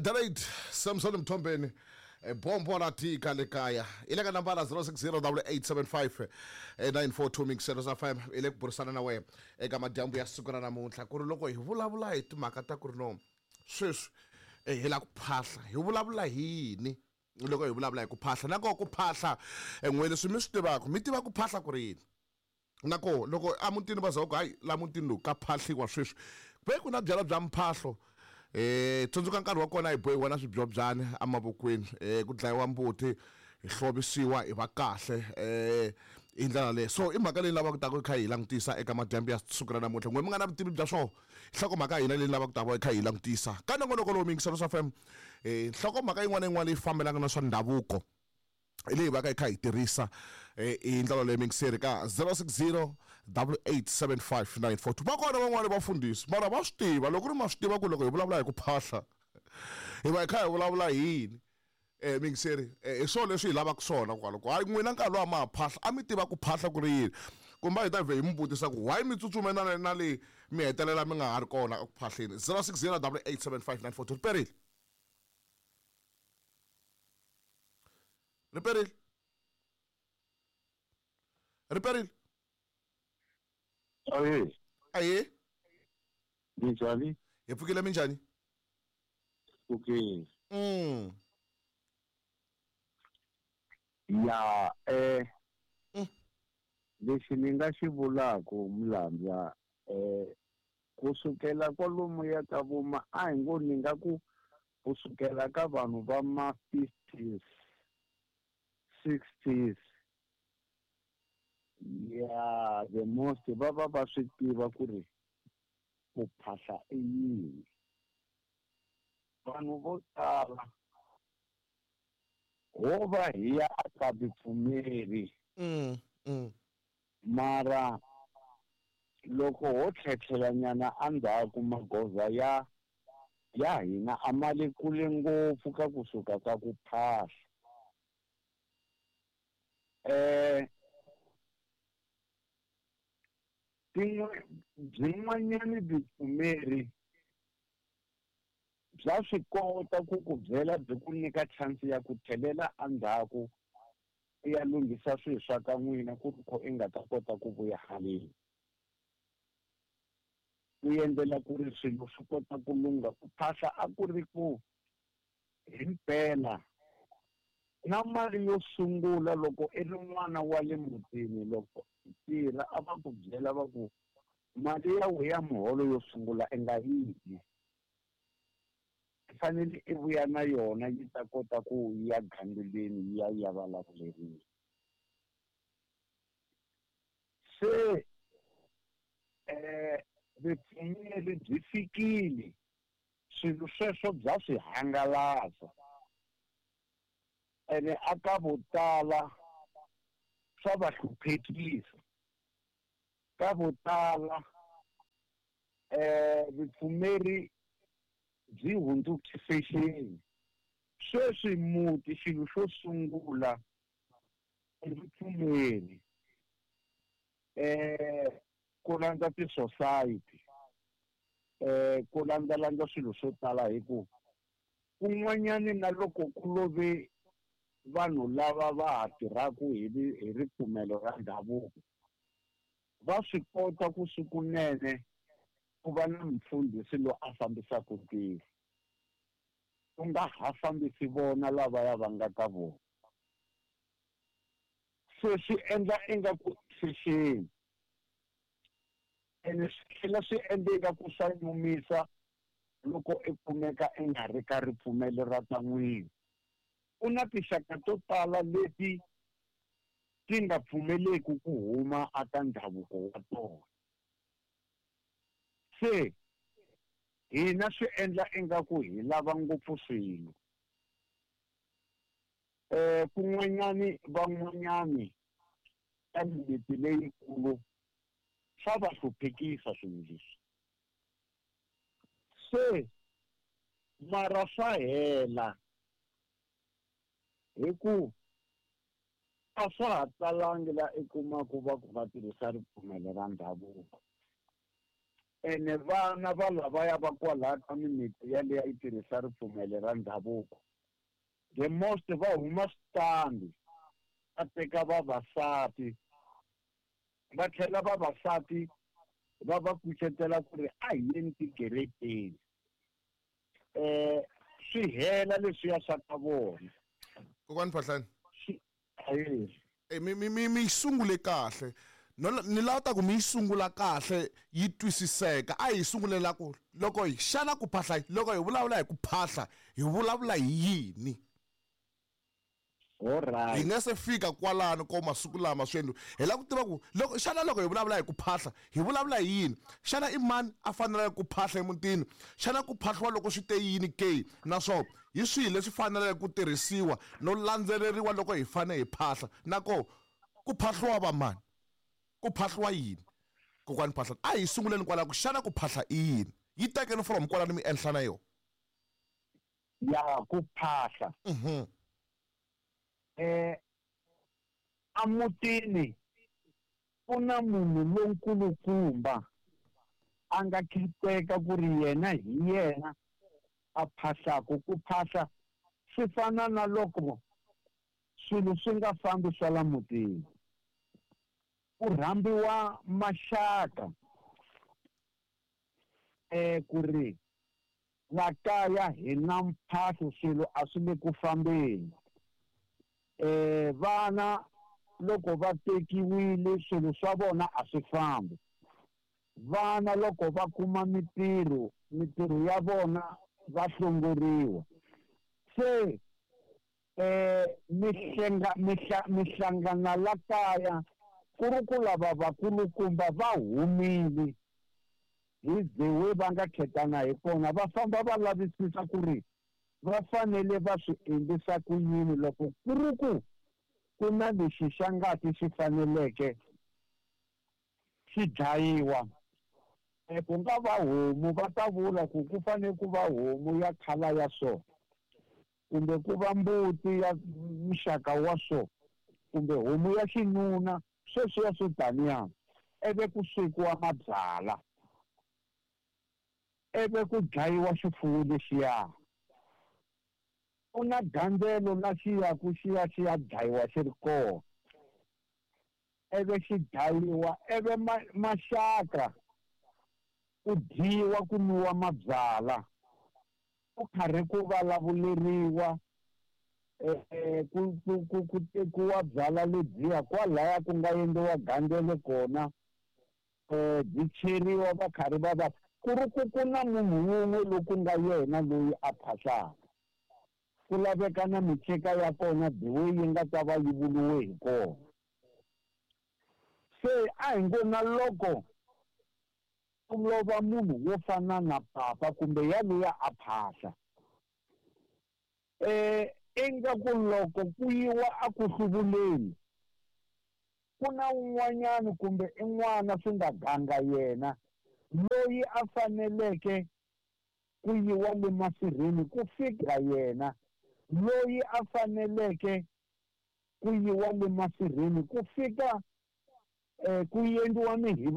Dalate Samson Mthombeni, bombo ra tika le kaya i le ka nambara 060 875 mixero sa fm i le ku burisana na wena eka madyambu ya siku ra namuntlha ku ri loko hi vulavula hi timhaka ta ku ri no sweswi hi la ku phahla hi vulavula hi yini loko hi vulavula hi ku phahla na koho ku phahla n'we leswi mi swi tivaka mi tiva ku phahla ku ri yini na koho loko emutini va za ku hayi la mutini lowu ka phahliwa sweswi ve ku na byalwa bya mphahlo tsundzuka nkarhi wa kona hi bohiwa na swibyobyani emavokweni ku dlayiwa mbuti hi hlovisiwa hi va kahle hi ndlela leyi. So i mhaka leyi lavaka ku ta ku kha hi langutisa eka madyambu ya siku ra namuntlha. N'we mi nga na vutivi bya swona, nhlokomhaka ya hina leyi lavaka ku ta va hi kha hi langutisa ka nongonoko lowu miyingiselo swa FM, nhlokomhaka yin'wana na yin'wana leyi fambelanaka na swa ndhavuko leyi va ka hi kha hi tirhisa hi ndlela leyi miyingiseri ka 060 8875942. Va kona van'wani vafundhisi mara va swi tiva loko ri ma swi tiva ku loko hi vulavula hi ku phahla hi va hi kha hi vulavula hi yini. Miyingiseri hi swona leswi hi lavaka swona kwalo ku hayi n'wina nkarhi lowu a ma ha phahla a mi tiva ku phahla ku ri yini, kumbe hi ta vhe hi mi vutisa ku why mi tsutsume na na le mi hetelela mi nga ha ri kona eku phahleni. 060 8875942. Riperile, riperile, riperile. Ahee. Ahee. Minjhani? Hi pfukile, minjhani? Okay. Ya lexi ni nga xi vulaku Mlandza, kusukela kwalomu ya ka vuma a hi ngo ni nga ku kusukela ka vanhu va ma 50s 60s ya the most va va va swi tiva ku ri ku phahla i yini. Vanhu vo tala ho va hi ya aka vupfumeri. Mara loko ho tlhetlhela nyana endzhaku magoza ya ya hina a ma le kule ngopfu ka kusuka ka ku phahla. Byin'wanyani vupfumeri bya swi kota ku ku byela byi ku nyika chance ya ku tlhelela endzhaku u ya lunghisa swilo swa ka n'wina ku ri kho i nga ta kota ku vuya haleni. Ku endlela ku ri swilo swi kota ku lungha. Ku phahla a ku ri ku himpela na mali yo sungula loko i ri n'wana wa le mutini loko i tirha a va ku byela va ku mali ya wena ya muholo yo sungula i nga yi dyi, i fanele i vuya na yona yi ta kota ku ya gandzeleni yi ya ya vulavuleriwa. Se vupfumeri byi fikile, swilo sweswo bya swi hangalasa ene aka vo tala swa va hluphekisa. Ka vo tala vupfumeri byi hundzuke fashion. Sweswi muti xilo xo sungula i vupfumeri, ku landza ti-society, ku landzalandza swilo swo tala hi ku kun'wanyani na loko ku love vanhu lava va ha tirhaka hi hi ripfumelo ra ndhavuko va swi kota ku sikunene ku va na mufundhisi loyi a fambisaka ntirho, ku nga ha fambisi vona lavaya va nga ka vona. Se swi endla ingaku fashion ene swi tlhela swi endla ingaku swa nyumisa loko i kumeka i nga ri ka ripfumelo ra ta n'wina. Ku na tinxaka to tala leti ti nga pfumeleki ku huma aka ndhavuko wa tona. Se hina swi endla ingaku hi lava ngopfu swilo. Kun'wanyani van'wanyani ka mimiti leyikulu swa va hluphekisa swilo leswi. Se mara swa hela hi ku a swa ha talangi la i kumaku va ku va tirhisa ripfumelo ra ndhavuko. Ene vana va lavaya va kwalaya ka mimiti yaleyo yi tirhisa ripfumelo ra ndhavuko, the most va huma switandi va teka vavasati, va tlhela vavasati va va kucetela ku ri a hi yeni tikerekeni, swi hela leswiya swa ka vona. Kokwani Phahlane, mi yi sungule kahle. Ni lava ta ku mi yi sungula kahle yi twisiseka. A hi sungulela ku loko hi xana ku phahla, loko hi vulavula hi ku phahla hi vulavula hi yini? Alright. Hi nga se fika kwalano ko masiku lama swi endliwa. Hi lava ku tiva ku loko xana loko hi vulavula hi ku phahla hi vulavula hi yini? Xana i mani a faneleke ku phahla emutini? Xana ku phahliwa loko swi te yini ke? Naswona hi swihi leswi faneleke ku tirhisiwa no landzeleriwa loko hi fanele hi phahla? Nako ku phahliwa va mani? Ku phahliwa yini? Kokwani Phahlane, a hi sunguleni kwalaho ku xana ku phahla i yini? Yi tekeni from kwalano mi enhla na yona. Ya ku phahla. Emutini ku na munhu lonkulukumba a nga kheteka ku ri yena hi yena a phahlaku. Ku phahla swi fana na loko swilo swi nga fambi swa la mutini, ku rhambiwa maxaka ku ri la kaya hi na mphahlo, swilo a swi le ku fambeni. Vana loko va tekiwile swilo swa vona a swi fambi. Vana loko va kuma mitirho, mitirho ya vona va hlongoriwa. Se mihlangana la kaya ku ri ku lava vakulukumba va humile hi the way va nga khetana hi kona, va famba va lavisisa ku ri va fanele va swi endlisa ku yini loko ku ri ku ku na lexi xa ngati xi faneleke xi dlayiwa. Ku nga va homu, va ta vula ku ku fanele ku va homu ya khala ya so, kumbe ku va mbuti ya muxaka wa so, kumbe homu ya xinuna, sweswiya swo taniya. Ivi ku swekiwa mabyala, ivi ku dlayiwa xifuwo lexiya. Ku na gandzelo la xi yaku xi ya xi ya dlayiwa xi ri kona, ivi xi dlayiwa, ivi maxaka ku dyiwa ku nwiwa mabyala, ku karhi ku vulavuleriwa, ku tekiwa byala lebyiya kwalaya ku nga endliwa gandzelo kona, byi cheriwa va karhi va va ku ri ku ku na munhu wun'we loku nga yena loyi a phahlaka. Ku laveka na miceka ya kona the way yi nga ta va yi vuriwe hi kona. Se a hi ngo na loko ku lova munhu wo fana na papa kumbe yaloya a phahla, ingaku loko ku yiwa a ku hluvuleni ku na un'wanyana kumbe i n'wana swi nga ganga yena loyi a faneleke ku yiwa le masirheni ku fika yena loyi a faneleke ku yiwa le masirheni ku fika ku endliwa mihiva.